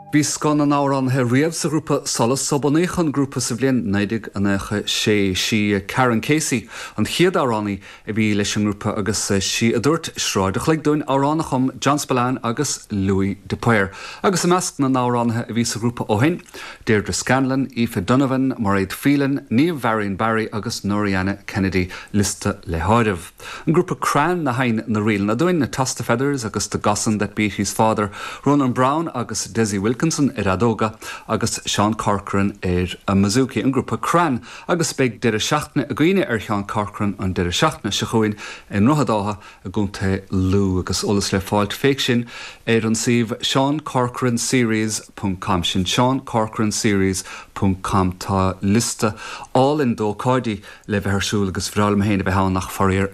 Bhí scoth na n-amhránaithe riamh sa ghrúpa Solas ó bunaíodh an grúpa sa bhliain 1996. Sí Karen Casey an chéad amhránaí a bhí leis an ngrúpa agus sí a dúirt Sráid a' Chloig dúinn, amhrán a chum John Spillane agus Louis de Paor. Agus i measc na n-amhránaithe a bhí sa ghrúpa ó shin, Deirdre Scanlon, Aoife Donovan, Mairéad Phelan, Niamh Varian Barry agus Norianna Kennedy, liosta le háireamh. An grúpa Crann a sheinn na ríleanna dúinn, Toss the Feathers agus The Gosson That Beat His Father, Ronan Browne agus Dessie Wilkinson ar fheadóga agus Seán Corcoran ar an mbouzouki, an grúpa Crann, agus beidh deireadh seachtaine againne ar Sheán Corcoran an deireadh seachtaine seo chugainn i nDroichead Átha i gContae Lú agus eolas le fáilt fé sin ar an suíomh seancorcoranseries ponc com, sin seancorcoranseries ponc com. Tá liosta álainn d'ócáidí le bheith ar siúl agus bhreá liom féin a bheith ann ach faraor.